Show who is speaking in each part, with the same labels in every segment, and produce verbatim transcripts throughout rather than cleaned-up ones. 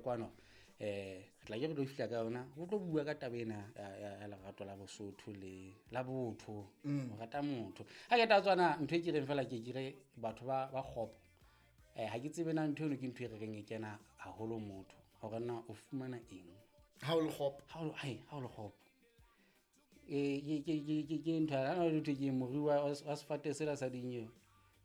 Speaker 1: kwano um re tla ke re tlo fihla ka yona go tlo bua ka taba ena ya ya- ya lerato la bosotho le la botho ho rata motho ga ke ta tswana ntho e ke reng fela ke kere batho ba ba kgopo um ga ke tsebe na ntho eno ke ntho e re reng e kena haholo motho hore na o fumana eng
Speaker 2: ha o le kgopo
Speaker 1: ha o hai, ha o le kgopo Eh, ke ke- ke- ke- ke ntho ha na ntho ke morui wa wa sefate sela sa dinyewe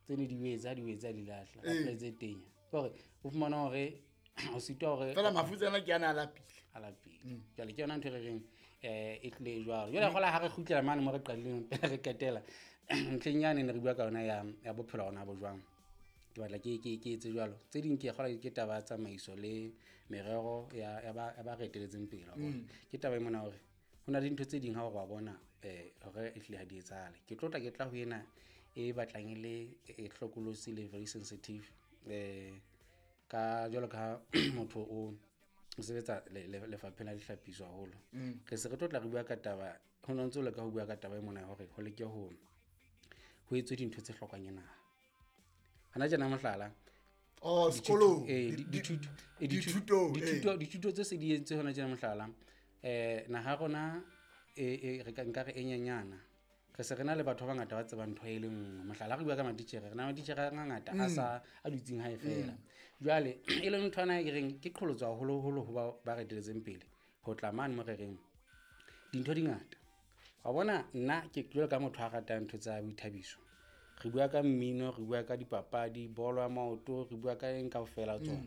Speaker 1: tse ne di wetse ha di wetse a di lahla
Speaker 2: Ee.
Speaker 1: ka tse tenya ke hore o fumana hore o sitwa hore
Speaker 2: fela mafutsana ke ana a lapile
Speaker 1: a lapile jwale ke yona ntho e re reng um e tlile jwalo jwale gola ha re kgutlela mane mo re qadileng pele re qetela ntlheng yane ne re bua ka yona ya ya bophelo gona bo jwang ke batla ke ke ke etse jwalo tse ding ke kgola ke taba ya tsamaiso le merero ya ya ba ya ba re eteletseng pele wa bona. Ke taba e mona hore ho na le dintho tse ding ha o re wa bona um hore e hlile ha di etsahale ke tlo tla ke tla ho ena e batlang e le e hlokolosi le very sensitive um ka jwalo ka motho o o sebetsa le- le- lefapheng la dihlapiso haholo re se re tlo tla re bua ka taba ho no ntse o leka ho bua ka taba e mona ya hore ho leke ho ho etswe dintho tse hlokang ke naha hana tjena mohlala
Speaker 2: oh sekolong
Speaker 1: eh,
Speaker 2: Di-
Speaker 1: di-
Speaker 2: di-
Speaker 1: dithuto eh, dithuto
Speaker 2: dithutong,
Speaker 1: dithuto
Speaker 2: eh.
Speaker 1: dithuto tse se di entse hona tjena mohlala eh naha ya rona e e re ka nka re e nyenyana re se re na le batho ba bangata ba tsebang ntho e le nngwe mohlala ha re bua ka matitjhere re na le matitjhere a mangata a sa a dutseng hae fela jwale e leng ntho ena e reng ke qholotso haholoholo ho ba ba re eteletseng pele ho tla mane mo re reng dintho di ngata wa bona nna ke jwalo ka motho a ratang ntho tsa boithabiso re bua ka mmino re bua ka dipapadi bolo ya maoto re bua ka eng kaofela tsona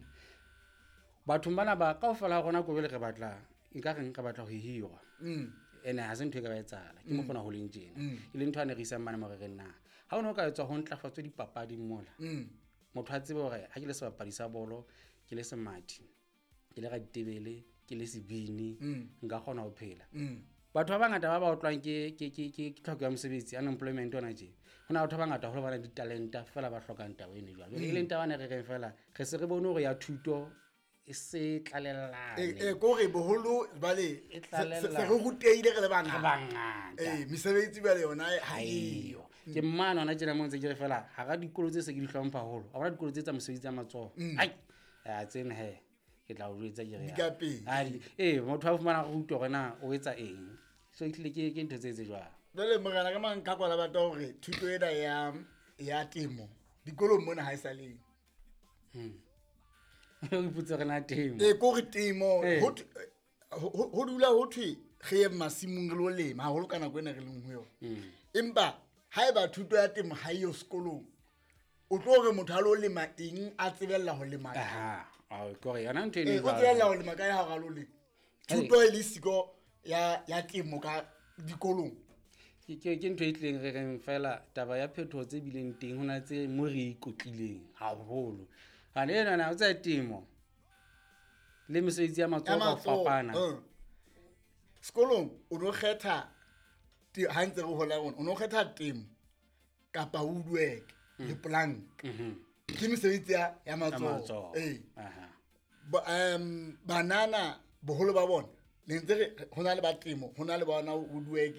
Speaker 1: bathong bana ba kaofela ha rona ko jwale re batla nka reng re batla ho hirwa
Speaker 2: Mm.
Speaker 1: ene ha se ntho e ka ba etsahala ke mokgona ho leng tjena e leng ntho a ne re isang mane mo re reng na ha o ne o ka etswa ho ntlafatswe dipapading mola
Speaker 2: Mm.
Speaker 1: motho a tsebe hore ha ke le sebapadi sa bolo ke le semathi ke le raditebele ke le sebini nka kgona ho phela
Speaker 2: Mm.
Speaker 1: batho ba bangata ba ba otlwang ke ke ke ke ke tlhoko ya mosebetsi unemployment ona tje ho na batho ba bangata haholo ba na le ditalenta fela ba hlokang taba eno jwalo jwale e leng taba ene re reng fela re se re bone hore ya thuto e se tlalellane
Speaker 2: Eh, eh, kore boholo jwale
Speaker 1: E
Speaker 2: se
Speaker 1: tlalella.
Speaker 2: se re rutehile re le
Speaker 1: re
Speaker 2: bangata
Speaker 1: bangata
Speaker 2: ee mesebetsi jwale yona ha
Speaker 1: eyo
Speaker 2: eyo
Speaker 1: ke mmane hona tjena mo ntse ke re fela hara dikolo tse se ke di hlompha haholo a bona dikolo tse tsa mosebetsi ya matsoho ai a tsena he ke tla o jwetsa ke re
Speaker 2: Di ka pele.
Speaker 1: Ah, di- ee motho a fumana go utlwa hore na o etsa eng so ehlile ke ke ntho tse etse jwalo
Speaker 2: jwale morena ka mang ka kwala batla hore thuto ena ya ya temo dikolong mona ha e sa leng
Speaker 1: o ipotse hore na temo
Speaker 2: ee kore temo
Speaker 1: Ee.
Speaker 2: ho thwe- ho ho- ho dula ho thwe re ye masimong re lo lema haholo ka nako ena re leng ho yona
Speaker 1: Mm.
Speaker 2: empa ha eba thuto ya temo ha eyo sekolong o tlo re motho a lo lema eng a tsebella ho lema kae?
Speaker 1: aha ao, ke hore yona ntho eno
Speaker 2: Ee,
Speaker 1: e
Speaker 2: o
Speaker 1: jwalo.
Speaker 2: tsebella ho lema kae ha o re a lo lema thuto e le siko ya ya temo ka dikolong
Speaker 1: ke ke- ke ntho e tlileng re reng fela taba ya phetoho tse bileng teng ho na tse mo re ikotlileng haholo hane enana o tsa temo le mesebetsi ya
Speaker 2: ya
Speaker 1: matsoho ka ho
Speaker 2: matsoho,
Speaker 1: fapana
Speaker 2: eh. sekolong o no kgetha te- ha ntse re hola rona o no kgetha temo kapa woodwork
Speaker 1: Mm.
Speaker 2: le plank
Speaker 1: Mhm.
Speaker 2: ke mesebetsi ya ya
Speaker 1: Ya
Speaker 2: matsoho
Speaker 1: matsoho
Speaker 2: ee
Speaker 1: Aha.
Speaker 2: Ba- um banana boholo ba bona ne ntse re ho na le ba temo ho na le ba ona woodwork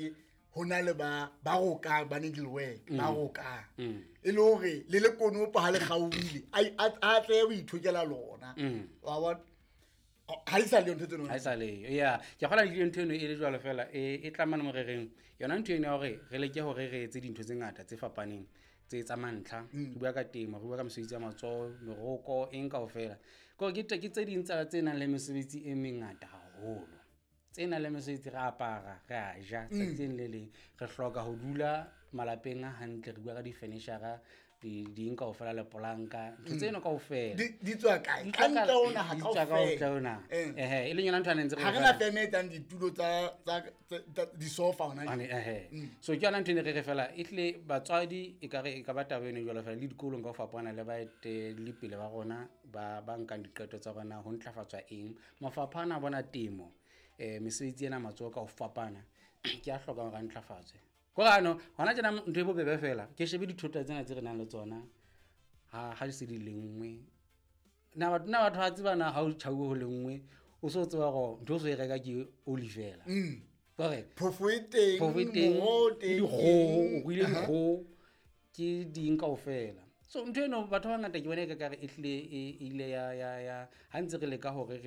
Speaker 2: ho na le ba ba rokang ba needle work ba rokang
Speaker 1: Mm.
Speaker 2: e le hore le le konopo ha le kgaohile a a- a tle ho ithokela lona
Speaker 1: Mm.
Speaker 2: wa bona ha di sa le yo ntho tseno
Speaker 1: ha e sa leyo ya ke kgola le ntho eno e le jwalo fela e e tla mane mo re reng yona ntho eno ya hore re leke hore re etse dintho tse ngata tse fapaneng tse tsa mantlha
Speaker 2: Mm.
Speaker 1: re bua ka temo re bua ka mesebetsi ya matsoho meroko eng kaofela kore ke ke tse ding tsa tse nang le mesebetsi e mengata haholo tse nang le mesebetsi re apara re a ja
Speaker 2: Mm.
Speaker 1: tsatsing le leng re hloka ho dula malapeng a hantle re bua ka di-furniture di ding kaofela lepolanka ntho tseno kaofela
Speaker 2: Mm. di di tswa kae
Speaker 1: Di
Speaker 2: ka
Speaker 1: tswa ka-
Speaker 2: ntle ho naha
Speaker 1: di tswa ka ntle ho naha.
Speaker 2: Eh.
Speaker 1: Ehe, e leng yona ntho a neng ntse re
Speaker 2: ha re
Speaker 1: re
Speaker 2: na
Speaker 1: fela-
Speaker 2: feme e etsang ditulo tsa tsa tsa- tsa- disofa hona
Speaker 1: Hane,
Speaker 2: jwale.
Speaker 1: ehe. so ke yona ntho e ne re re fela e tlile batswadi e kare e ka ba taba eno jwalo fela le dikolong ka ho fapana le baeteledipele ba rona ba ba nkang diqeto tsa rona ho ntlafatswa eng mafapha ana a bona temo um mesebetsi ena matsoho ka ho fapana ke a hlokang hore a ntlafatswe kore ano hona tjena ntho e bobebe fela ke shebe dithota tsena tse re nang le tsona ha ha di se di lenngwe na batho na batho ba tseba na ha o tjhauwe ho lenngwe o so tseba gore ntho o so e reka ke oli fela
Speaker 2: Mm.
Speaker 1: kore
Speaker 2: phofo e teng
Speaker 1: phofo e teng
Speaker 2: moroho o
Speaker 1: ke
Speaker 2: teng
Speaker 1: dikgoho o ruile dikgoho ke ding kaofela so ntho eno batho ba bangata ke bona e ka kare e tlile e e ile ya ya ya ha ntse re leka hore